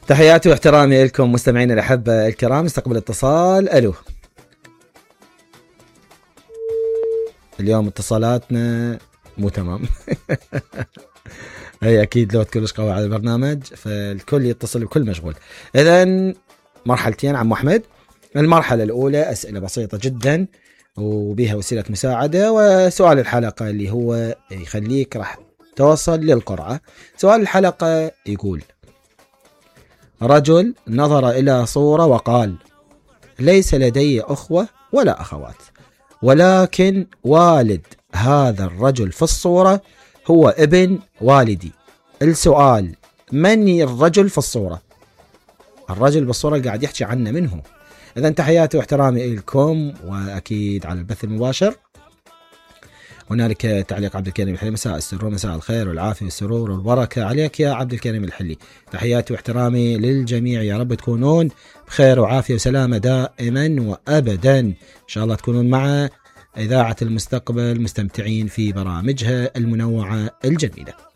تحياتي واحترامي لكم مستمعين الأحبة الكرام. استقبل اتصال. ألو. اليوم اتصالاتنا مو تمام. هي أكيد لو كلش قوي على البرنامج فالكل يتصل بكل مشغول. إذن مرحلتين عم أحمد. المرحلة الأولى أسئلة بسيطة جدا وبيها وسيلة مساعدة، وسؤال الحلقة اللي هو يخليك راح توصل للقرعة. سؤال الحلقة يقول: رجل نظر إلى صورة وقال: ليس لدي أخوة ولا أخوات، ولكن والد هذا الرجل في الصورة هو ابن والدي. السؤال: من الرجل في الصورة؟ الرجل بالصورة اللي قاعد يحكي عنه منه. إذن تحياتي واحترامي لكم، وأكيد على البث المباشر هنالك تعليق عبد الكريم الحلي: مساء السرور، مساء الخير والعافية والسرور والبركة عليك يا عبد الكريم الحلي. تحياتي واحترامي للجميع، يا رب تكونون بخير وعافية وسلامة دائما وأبدا. إن شاء الله تكونون مع إذاعة المستقبل مستمتعين في برامجها المنوعة الجميلة.